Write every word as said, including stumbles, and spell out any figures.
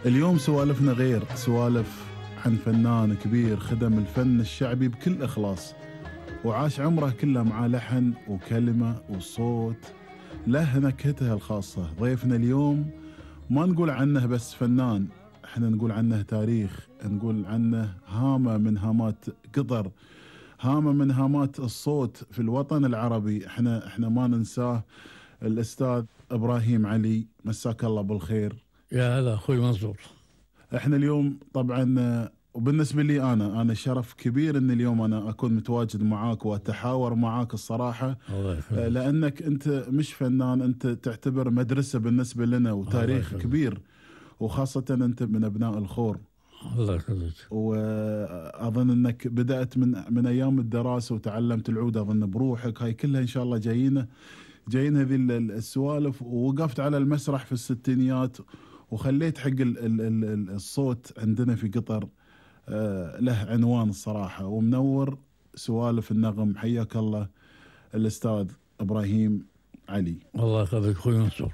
اليوم سوالفنا غير، سوالف عن فنان كبير خدم الفن الشعبي بكل إخلاص، وعاش عمره كله مع لحن وكلمة وصوت له نكهته الخاصة. ضيفنا اليوم ما نقول عنه بس فنان، احنا نقول عنه تاريخ، نقول عنه هامة من هامات قطر، هامة من هامات الصوت في الوطن العربي. احنا احنا ما ننساه الأستاذ إبراهيم علي، مساك الله بالخير. يا هلا اخوي منصور. احنا اليوم طبعا، وبالنسبة لي أنا أنا شرف كبير أن اليوم أنا أكون متواجد معاك وأتحاور معاك الصراحة. الله يخليك. لأنك أنت مش فنان، أنت تعتبر مدرسة بالنسبة لنا وتاريخ كبير، وخاصة أنت من أبناء الخور. الله يخليك. وأظن أنك بدأت من من أيام الدراسة وتعلمت العود أظن بروحك، هاي كلها إن شاء الله جايين جايين هذه السوالف. ووقفت على المسرح في الستينيات وخليت حق ال ال ال الصوت عندنا في قطر آه له عنوان الصراحة، ومنور سوالف النغم. حياك الله الأستاذ إبراهيم علي. الله يخليك اخوي منصور.